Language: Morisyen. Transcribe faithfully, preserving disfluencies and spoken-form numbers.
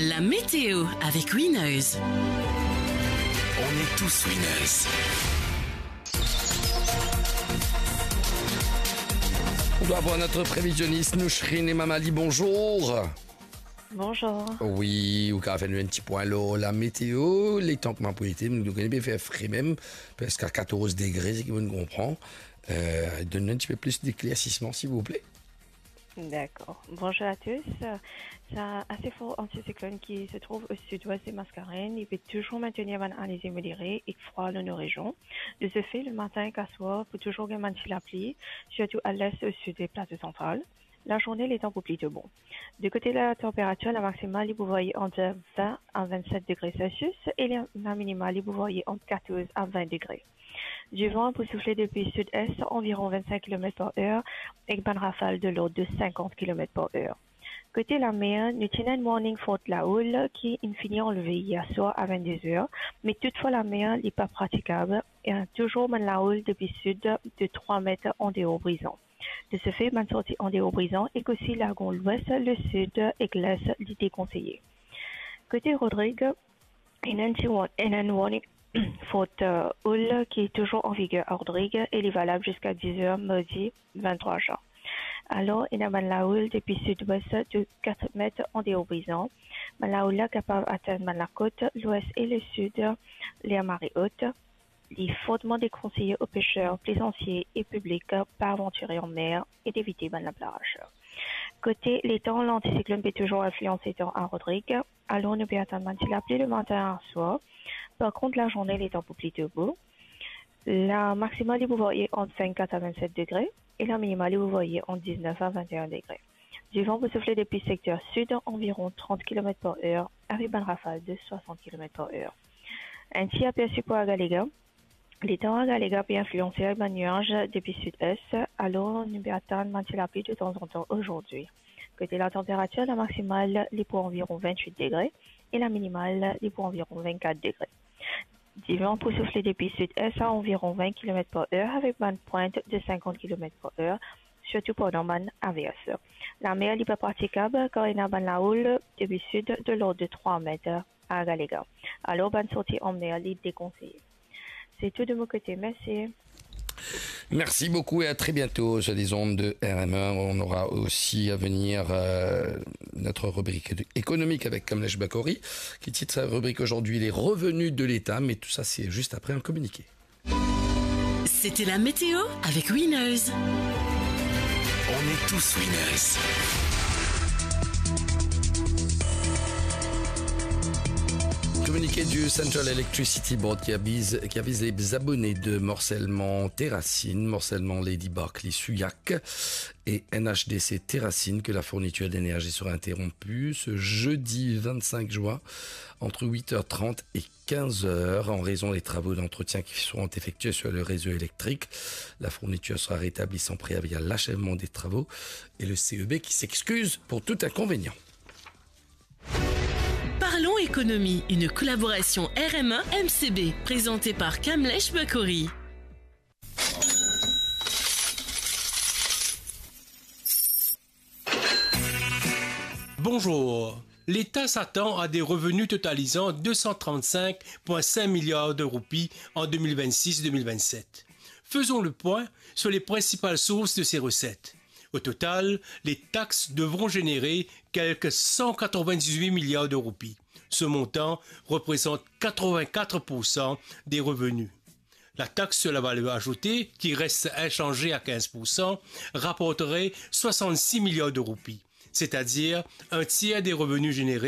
La météo avec Winners. On est tous winners. On doit avoir notre prévisionniste Nouchrine Emamali, bonjour. Bonjour. Wi, ou kapav fer nou enn ti pwin lor la météo, letan kouma pou ete, nou kone bien fer fre mem, preske a katorz degre, seki mo konpran. Euh, donn nou enn ti pe plis deklersisman, silvouple. D'accord. Bonjour à tous. Sa ase for antisiklonn ki se trouv o sid-wes de Mascarenhas, li pe touzour maintenir bann alizé modere ek frwa lor nou rezion. De ce fait, le matin ek aswar, pou touzour gagn bann ti lapli, sirtou a lest, o sid e plato santral. Lazourne, letan pou plito bon. De kote latanperatir, la maksimal, li pou varye ant vin a vennset degre Celsius e la, la minimal, li pou varye ant katorz a vin degre. Divan pou soufle depi sid-es, anviron vennsenk kilomet par er, ek bann rafal de lord de sinkant kilomet par er. Kote lamer, nou ti ena enn warning fort laoul ki inn fini anlve yer swar a vennde zer, me toutfwa lamer, li pa pratikab, e touzour bann laoul depi sid de trwa met andeor Brizon. De ce fait, bann sorti andeor Brizon ek osi Lagon Lwes, Lesid ek Les, li dekonseye. Kote Rodrig, ena enn ti wa-, ena enn warning fort, euh, houle ki touzour an viger a Rodrig e li valab ziska diz er mardi venntrwa zin. Alor, ena bann laoul depi sid-wes de kat met andeor Brizon. Bann laoul la kapav atenn bann lakot, lwes e lesid, ler mare ot. Li forteman dekonseye o peser, plezantie e piblik pa avantire anmer e devite bann laplaz. Kote letan, lantisiklonn pe touzour inflians letan a Rodrig, alor nou pe atann bann ti lapli lematin aswar. Par kont, lazourne, letan pou plito bo. La maksimal, li pou varye ant vennkat a vennset degre e la minimal, li pou varye ant diznef a vennteen degre. Divan pou soufle depi sekter sid, anviron trant kilomet par er, avek bann rafal de swasant kilomet par er. Enn ti apersi pou Agalega. Letan Agalega pe inflianse ar bann niaz depi sid-es, alor nou pe atann bann ti lapli detanzantan azordi. Kote latanperatir, la maksimal, li pou anviron vennwit degre e la minimal, li pou anviron vennkat degre. Divan pou soufle depi sid-es a anviron vin kilomet par er avek bann pwint de sinkant kilomet par er, sirtou pandan bann avers. Lamer, li pa pratikab, kar ena bann laoul depi sid de lord de trwa met a Agalega. Alor, bann sorti anmer, li dekonseye. Se tou de mo kote. Mersi. Merci beaucoup et à très bientôt sur les ondes de R M un. On aura aussi à venir, euh, notre rubrique économique avec Kamlesh Bakori, qui titre sa rubrique aujourd'hui les revenus de l'État, mais tout ça, c'est juste après un communiqué. C'était la météo avec Winners. On est tous winners. Communiqué du Central Electricity Board qui avise, qui avise les abonnés de morcellement Terracine, morcellement Lady Barclay Souillac et N H D C Terracine que la fourniture d'énergie sera interrompue ce jeudi vingt-cinq juin entre huit heures trente et quinze heures en raison des travaux d'entretien qui seront effectués sur le réseau électrique. La fourniture sera rétablie sans préavis à l'achèvement des travaux et le C E B qui s'excuse pour tout inconvénient. Parlons économie, une collaboration R M un M C B, présentée par Kamlesh Bakori. Bonjour. L'État s'attend à des revenus totalisant deux cent trente-cinq virgule cinq milliards de roupies en deux mille vingt-six deux mille vingt-sept. Faisons le point sur les principales sources de ces recettes. Au total, les taxes devront générer quelque cent quatre-vingt-dix-huit milliards de roupies. Ce montant représente quatre-vingt-quatre pour cent des revenus. La taxe sur la valeur ajoutée, qui reste inchangée à quinze pour cent, rapporterait soixante-six milliards de roupies, c'est-à-dire un tiers des revenus générés